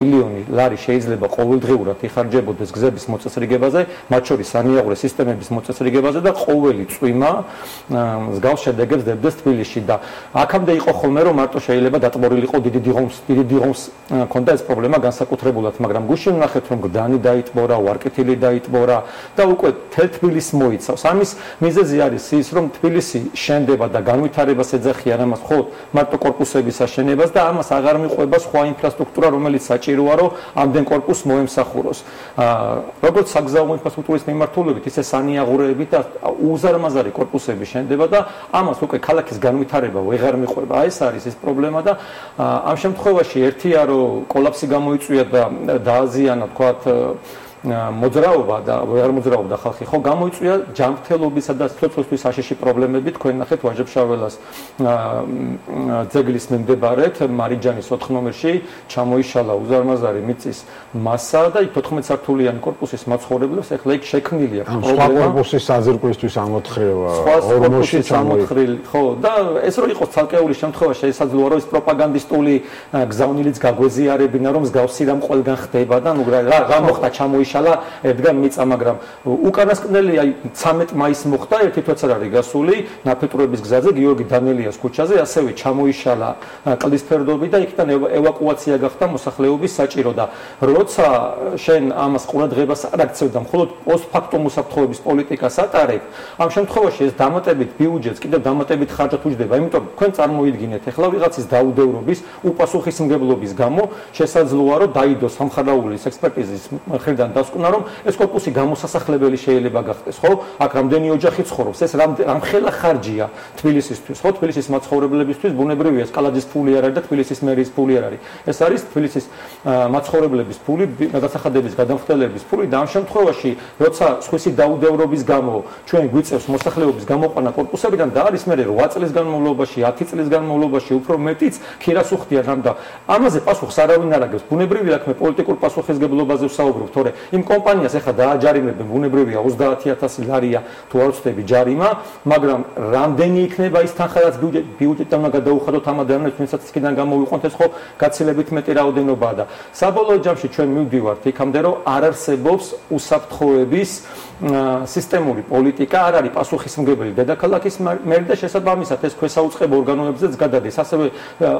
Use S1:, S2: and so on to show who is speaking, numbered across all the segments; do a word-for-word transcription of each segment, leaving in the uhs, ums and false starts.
S1: მილიონი ლარი შეიძლება ყოველდღიურად იხარჯებოდეს გზების მოწესრიგებაზე, მათ შორის სანიაღვრე სისტემების მოწესრიგებაზე და ყოველი წვიმა მსგავს შედეგებს დებდეს თბილისში და აქამდე იყო ხოლმე რომ მარტო შეიძლება დატბორილიყო დიდი დიღომს დიდი დიღომს ქონდა ეს პრობლემა განსაკუთრებულად, მაგრამ გუშინ ვნახეთ რომ გდანი დაიტბორა, ვარკეთილი დაიტბორა და უკვე თელ თბილისს მოიცავს. ამის მიზეზი არის ის რომ თბილისი შენდება და განვითარებას ეძახიან ამას მხოლოდ მარტო კორპუსების აშენებას და ამას აღარ მიყვება სხვა ინფრასტრუქტურა რომელიც საჭიროა რომ ამდენ კორპუსს მოემსახუროს. როგორც საგზაო ინფრასტრუქტურის მიმართულებით, ისე სანიაღურეებით და უზარმაზარი კორპუსები შენდება და ამას უკვე ქალაქის განვითარება ვეღარ მიყვება. ეს არის ეს პრობლემა და ამ შემთხვევაში ერთია რომ კოლაფსი გამოიწვია და დააზიანა თქვათ მოძრაობა და ვეღარ მოძრაობდა ხალხი, ხო გამოიწვია ჯანმრთელობისა და სიცოცხლის საშიში პრობლემები. თქვენ ნახეთ ვაჟებშაველას ძეგლის მიმდებარედ მარიჯანის ოთხ ნომერში ჩამოიშალა უზარმაზარი მიწის მასა და იქ თოთხმეტ სართულიანი კორპუსის მაცხოვრებლებს ახლა იქ შექმნილი აქვს
S2: სხვა კორპუსის საზრკვისთვის ამოთხრევა
S1: ორმოში ჩამოთხრილი, ხო და ეს რო იყოს ცალკეული შემთხვევა შესაძლოა რომ ეს პროპაგანდისტული გზავნილიც გაგვეზიარებინა რომ მსგავსი რამ ყველგან ხდება და ნუ რა მოხდა ჩამოიშალა ედგარ მიწა, მაგრამ უკანასკნელი აი ცამეტ მაისს მოხდა ერთი თვეც არ არის გასული ნაფეტურების გზაზე გიორგი დანელიას ქუჩაზე ასევე ჩამოიშალა კლდის ფერდობი და იქიდან ევაკუაცია გახდა მოსახლეობის საჭირო და როცა შენ ამას ყურადღებას არ აქცევ და მხოლოდ პოსტფაქტუმ უსაფრთხოების პოლიტიკას ატარებ, ამ შემთხვევაში ეს დამატებით ბიუჯეტს კიდევ დამატებით ხარჯად უჯდება, იმიტომ თქვენ წარმოიდგინეთ ახლა ვიღაცის დაუდევრობის უპასუხისმგებლობის გამო შესაძლოა რომ დაიდოს სამხარაულის ექსპერტიზის მხრიდან დასკვნა რომ ეს კორპუსი გამოსასახლებელი შეიძლება გახდეს, ხო? აქ რამდენი ოჯახი ცხოვრობს, ეს რამხელა ხარჯია თბილისისთვის, ხო? თბილისის მაცხოვრებლებისთვის ბუნებრივია ეს კალაძის ფული არ არის და თბილისის მერის ფული არ არის. ეს არის თბილისის მაცხოვრებლების ფული, გადასახადების გადამხდელების ფული და ამ შემთხვევაში, როცა სხვისი დაუდევრობის გამო ჩვენ გვიწევს მოსახლეობის გამოყვანა კორპუსებიდან და არის მე რვა წლის განმავლობაში, ათი წლის განმავლობაში უფრო მეტიც ქირას უხდიან ამ და ამაზე პასუხს არავინ არ აგებს. ბუნებრივია აქ მე პოლიტიკურ პასუხისმგებლობაზე ვსაუბრობ, თორე იმ კომპანიას ახლა დააჯარიმებენ, ბუნებრივია ოცდაათი ათასი ლარია თუ არ ვცდები ჯარიმა, მაგრამ რამდენი იქნება ის თანხა რაც ბიუჯეტიდან უნდა გადაუხადოთ ამ ადამიანებს, ვინცაც იქიდან გამოვიყვანთ, ეს ხო გაცილებით მეტი რაოდენობაა და საბოლოო ჯამში ჩვენ მივდივართ იქამდე რომ არ არსებობს უსაფრთხოების სისტემური პოლიტიკა, არ არის პასუხისმგებელი დედაქალაქის მერი და შესაბამისად ეს ქვესაუწყებ ორგანოებზეც გადადის, ასევე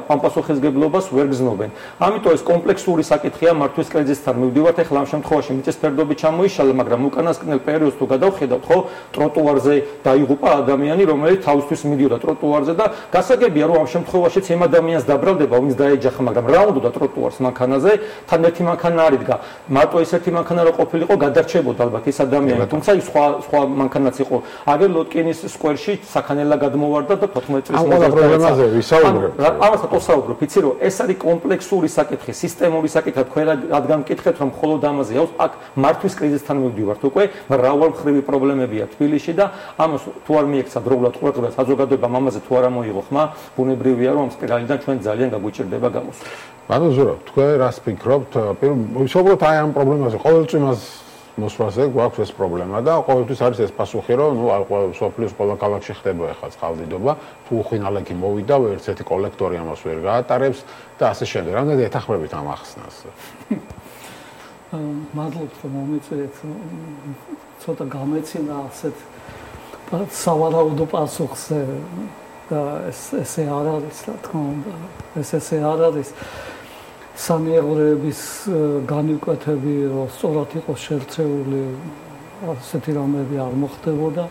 S1: ამ პასუხისმგებლობას ვერ გზნობენ. ამიტომ ეს კომპლექსური საკითხია მართვის კრიზისთან მივდივართ, ახლა ამ შემთხვევაში მიწის ფერდობი ჩამოიშალა, მაგრამ უკანასკნელ პერიოდს თუ გადავხედავთ, ხო, ტროტუარზე დაიღუპა ადამიანი, რომელიც თავისთვის მიდიოდა ტროტუარზე და გასაგებია რომ ამ შემთხვევაშიც იმ ადამიანს დაბრალდება, ვინც დაეჯახა, მაგრამ რა უნდა ტროტუარს მანქანაზე, თან ერთი მანქანა არიდგა. მარტო ეს ერთი მანქანა რო ყოფილიყო, გადარჩებოდა ალბათ ეს ადამიანი, თუმცა ის სხვა სხვა მანქანაც იყო. აგერ ლოტკინის სკვერში საქანელა გადმოვარდა და თოთხმეტ წლის
S2: ამ პრობლემაზე ვისაუბრებთ.
S1: ამასაც ვსაუბრობ, იცი რომ ეს არის კომპლექსური საკითხი, სისტემური საკითხი, თქვენ რადგან მკითხეთ რომ მხოლოდ ამაზე აქვს, აქ მართვის კრიზისთან მივდივართ უკვე, მრავალმხრივი პრობლემებია თბილისში და ამას თუ არ მიექცა დროულად ყურადღებას საზოგადოებამ ამაზე თუ არ ამოიღო ხმა, ბუნებრივია რომ ამ სპირალიდან ჩვენ ძალიან გაგვიჭირდება გამოსვლა.
S2: ბატონო ზურაბ, თქვენ რას ფიქრობთ? ვისაუბროთ აი ამ პრობლემაზე, ყოველ წვიმას მოსვლაზე გვაქვს ეს პრობლემა და ყოველთვის არის ეს პასუხი, რომ ნუ სოფლის ყველა ქალაქში ხდება ახლა წყალდიდობა, თუ უხინალექი მოვიდა, ერთ-ერთი კოლექტორი ამას ვერ გაატარებს და ასე შემდეგ. რამდენად ეთანხმებით ამ ახსნას?
S3: მადლობთ რომ მომეწერეთ, ცოტა გამეცინა ასეთ სავარაუდო პასუხს და ეს ესე არ არის, რა თქმა უნდა, ეს ესე არ არის. სანიაღვრეების განივკვეთები რომ სწორად იყოს შერწეული, ასეთი რამები არ მოხდებოდა.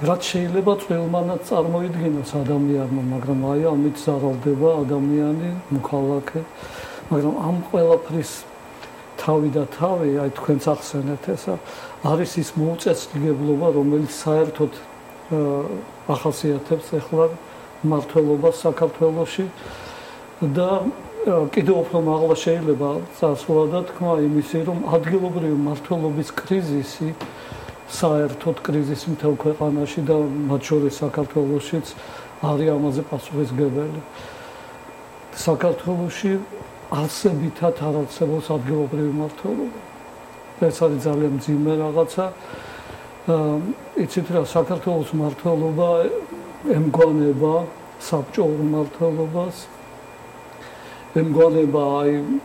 S3: რაც შეიძლება წვრილმანაც წარმოიდგინოს ადამიანმა, მაგრამ აი ამით ზარალდება ადამიანი, მოქალაქე, მაგრამ ამ ყველაფრის თავი და თავი, აი თქვენც ახსენეთ ესა, არის ის მოუწესრიგებლობა, რომელიც საერთოდ ახასიათებს ახლა მმართველობას საქართველოში და კიდევ უფრო მაღლა შეიძლება წასვლა და თქვა იმისი, რომ ადგილობრივი მმართველობის კრიზისი, საერთოდ კრიზისი მთელ ქვეყანაში და მათ შორის საქართველოშიც არის ამაზე პასუხისმგებელი. საქართველოში არსებითად არ არსებობს ადგილობრივი მმართველობა. ეს არის ძალიან მძიმე რაღაცა. იცით რა, საქართველოს მმართველობა ემგვანება საბჭოურ მმართველობას. ემგონება აი